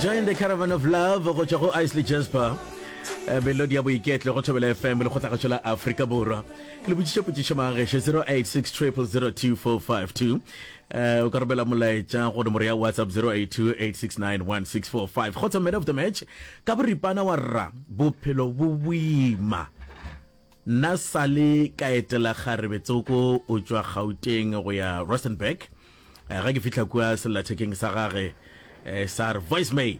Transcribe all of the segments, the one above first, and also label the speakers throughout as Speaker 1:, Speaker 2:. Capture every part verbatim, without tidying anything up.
Speaker 1: Join the Caravan of Love go tšwa go Isley Jasper. Eh, Melodi ya boiketlo go Thobela F M, lekgotlakgašo la Afrika Borwa. Ke le botšiša potšišo magešo zero eight six triple zero two four five two. Eh, o ka romela molaetša go nomoro ya WhatsApp zero eight two eight six nine one six four five. Kgotsa man of the match ka boripana wa rra bophelo bo boima. Nna sale ka etela kgarebe tsoko o tšwa Gauteng go ya Rustenburg. Eh, ga ke fihla kua sellathekeng sa gage eh, sa re voicemail.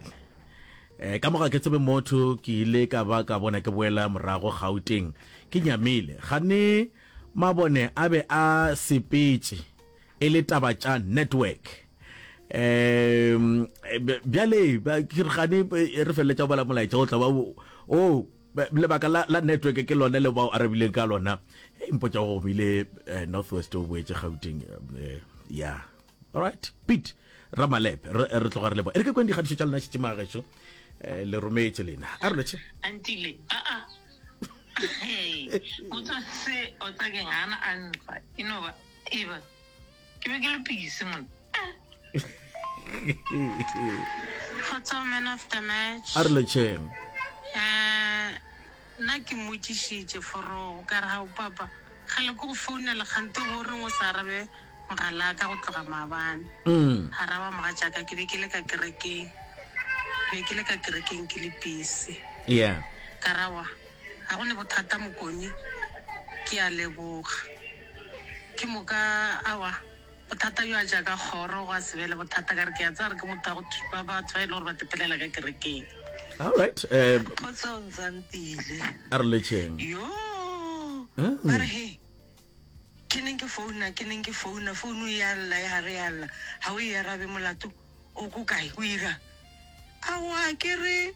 Speaker 1: Eh, ka moga ke tsebe motho, ke ile ka ba ka bona ke boela morago Gauteng ke nyamile gane mabone a be a sepetše e le taba tša network. um bjale ba- ke re gane eh, re feleletša go bala molaetša o tla ba o o, lebaka la, la network ke lone le bao arabileng ka lona. E mpotša go gomile eh, Northwest o boetše Gauteng. eh, ya alright, Pete Ramalepe, re re tloga re leboga. E re ke kweng dikgatišo tša lena šetše magešo, eh, le rometše lena, a re lotšhe.
Speaker 2: Antile aa hey motho se o tsakeng gana a nfa e no ba e ba ke be ke le busy monna.
Speaker 3: Kgotso, man of the match.
Speaker 1: A re lotšheng.
Speaker 3: Eh, nna ke mmotšišitše forogo ka re, gao papa, kgale ke go founela kgante go reng o sa arabe mogala ka go tloga maabane?
Speaker 1: Mm.
Speaker 3: Araba mogatšaka, ke be ke le ka kerekeng, be ke le ka kerekeng ke le busy.
Speaker 1: Yeah
Speaker 3: ka rawa ga go ne bothata mokone, ke a leboga. Ke moka awa bothata bjo a jaaka kgoro go a se be le bothata, ka re ke a tsaya re ke motho wa go ba batho ba e le gore ba tepelela ka kerekeng.
Speaker 1: Alright, um
Speaker 2: Kgotsong Zantile.
Speaker 1: A re letšheng.
Speaker 2: Yo
Speaker 1: Mm.
Speaker 2: ba re he ke neng ke founa, ke neng ke founa, founu e ya lla, e gare ya lla, ga o e arabe, molato o ko kae, o ira aowa? Ke re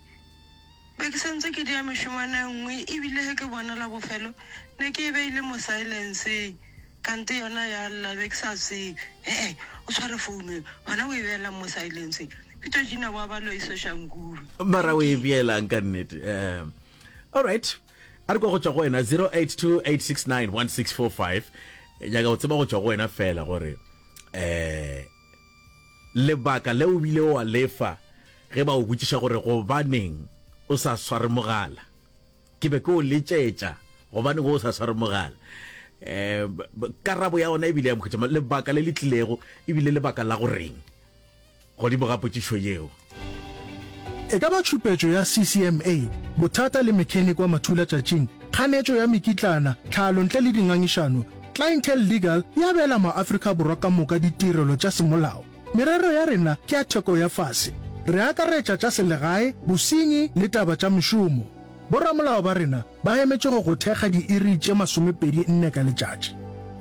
Speaker 2: be ke santse ke dia mešongwana e nngwe, ebile ge ke bona la bofelo ne ke e beile mo silenceng, kante yona ya lla, be ke sa tsebe. Ee, o tshware founu e gona o e beelang mo silenceng. Peter Gina wa ba loisošankuru.
Speaker 1: Mara o e beelang ka nnete? um alright, a re kwa go tšwa go wena zero eight two eight six nine one six four five. Nyaka go tseba go tšwa go wena fela gore um lebaka le o bile wa lefa ge ba o botšiša gore gobaneng o sa sware mogala, ke be ke o letšetša, gobaneng o sa sware mogala, um karabo ya ona ebile ya mokhutša lebaka le le tlilego ebile lebaka la goreng godimo ga potšišo yeo.
Speaker 4: E ka ba tšhupetšo ya C C M A, bothata le mechanic wa mathulatšatšing, kganetšo ya mekitlana, tlhalo ntle le dingangišano, Clientele Legal e abela maAfrika Borwa ka moka ditirelo tša semolao. Merero ya rena ke ya theko ya fase. Re akaretša tša selegae, bosenyi le taba tša mešomo. Boramolao ba rena ba emetše go go thekga diiri tše masomepedi nne ka letšatši.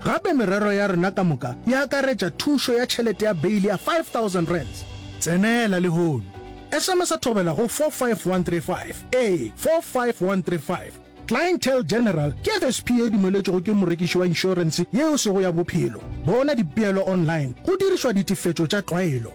Speaker 4: Gape merero ya rena ka moka e akaretša thušo ya tšhelete ya beile ya five thousand rands. Tsenela lehono. S M S thobela go four five one three five. Ee, four five one three five. Clientele General ke F S P e dumeletšwego ke morekiši wa inšorense yeo sego ya bophelo. Bona dipeelo online go dirišwa ditefetšo tša tlwaelo.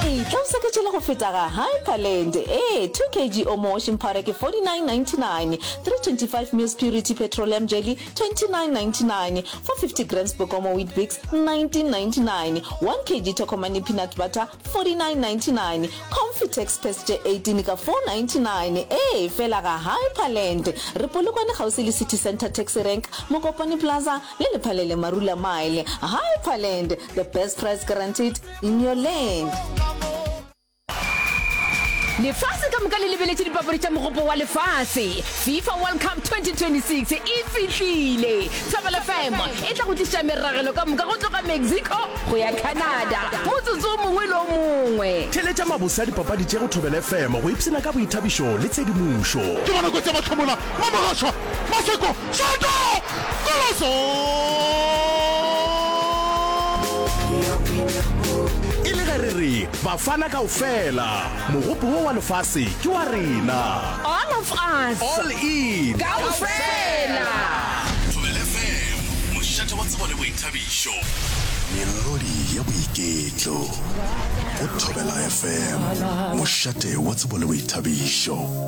Speaker 5: Etla o seketšele go feta ga Hyperland. Ee, two kilograms Omo washing powder ke forty-nine ninety-nine, three twenty-five mils Purity petroleum jelly twenty-nine ninety-nine, four fifty grams Bokomo Weet-Bix nineteen ninety-nine, one kilogram Tokomani peanut butter forty-nine ninety-nine, Confitex paste tše eighteen ka four ninety-nine. Ee, fela ga Hyperland. Re Polokwane kgauswi le City Center Taxi Rank, Mokopane Plaza le Lephalele Marula Mile. Hyperland, the best price guaranteed in your land.
Speaker 6: Lefase ka moka le lebeletše dipapadi tša mogopo wa lefase. FIFA World Cup twenty twenty-six e fihlile. Thobela F M e tla go tliša meragelo ka moka go tloga Mexico go ya Canada motsotso o mongwe le o mongwe.
Speaker 7: Theletša mabose a dipapadi tše go Thobela F M go ipshina ka boithabišo le tshedimošo.
Speaker 8: Ke bona kotsi ya mahlomola mo Mogaswa Maseko Shato Koloso.
Speaker 7: E le ge re re Bafana kaofela, mogopo wo wa lefase ke wa rena.
Speaker 6: All of us.
Speaker 7: All in.
Speaker 6: Kaofela.
Speaker 7: Thobela F M, mošate wa tsebo le boithabišo. Melodi ya boiketlo go Thobela F M, mošate wa tsebo le boithabišo.